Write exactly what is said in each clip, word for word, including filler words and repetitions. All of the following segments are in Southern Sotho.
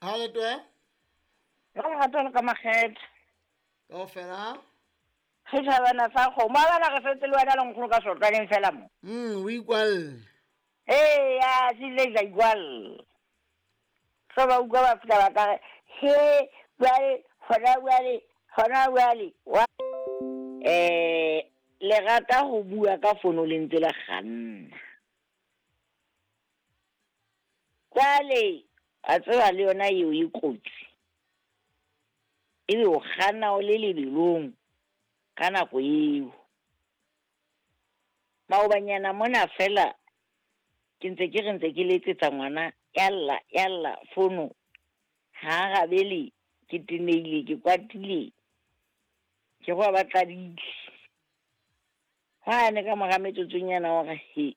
Ha le twe? Ka lerato le ka makgethe. Kaofela? Re thabana sa kgomo. A bana re setse le wena le nkgono ka sotwaneng fela mo. Mm, o ikwalle. Ee, ya, se ile ka ikwalle. So ba utlwa ba fihla ba ka re, he, jwale, hona jwale, hona jwale. Wa eh, le rata ho bua ka fono le ntse le kganna. Jwale, a tseba le yona eo e kotsi. Ebe o kganna o le lebelong ka nako eo. Maobanyana mona fela ke ntse ke re ntse ke letsetsa ngwana ya lla ya lla fono ha arabele, ke tenehile, ke kwatile, ke go ba tladile. Hwane ka mora metsotsonyana wa re he,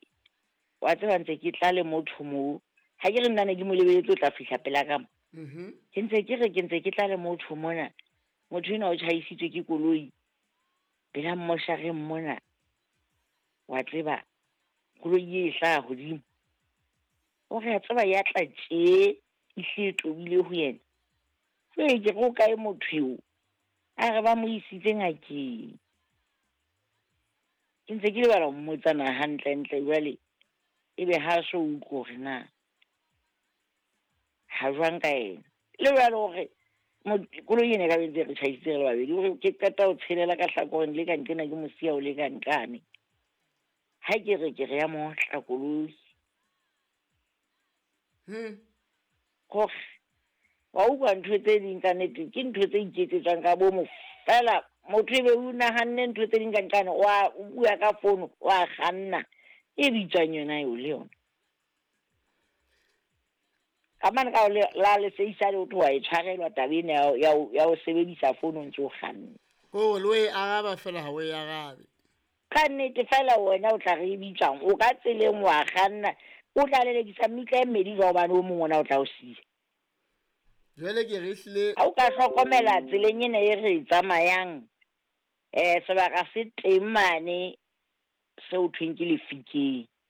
wa tseba ntse ke tla le motho moo. Ha ke re nna ne ke mo lebeletse o tla fihla pela ka mo. Mhm. Ke ntse ke re ke ntse ke tla le motho mona. Motho enwa o tjhaisitswe ke koloi pela mmoshareng mona. Wa tseba koloi e hlaha hodimo. O re a tseba ya tla tje e hle e tobile ho yena. Jwale ke re o kae motho eo? A re ba mo isitse ngakeng. Ke ntse ke lebala ho mmotsa na hantlentle jwale ebe ha so utlwe hore na ha jwang ka yena. Le jwale hore koloi ena e ka be ntse re tjhaisitse re le babedi, hore ke qeta ho tshelela ka hlakoreng le ka nqena ke mo siya o le ka nqane. Ha ke re ke re ya mo otla koloi. Hmm. Hore wa utlwa ntho tse ding ka nnete ke ntho tse iketsetsang ka bomo fela. Motho ebe o nahanne ntho tse ding ka nqane, wa o bua ka fono, wa kganna. E bitswang yona eo le yona. Ka mane ka le la le seisa le ho tloha e tshwarelwa taba ena ya, ya, ya ho sebedisa fono ntse o kganna. Ko le o e araba fela ha o e arabe. Ka nnete fela wena o tla re e bitswang, o ka tseleng wa kganna, o tla lelekisa mmitla e mmedi jwang hobane o mong ona o tla o siya. Jwale ke re hlile Ha o ka hlokomela tseleng ena e re e tsamayang, eh sebaka se teng mane seo thweng ke lefikeng.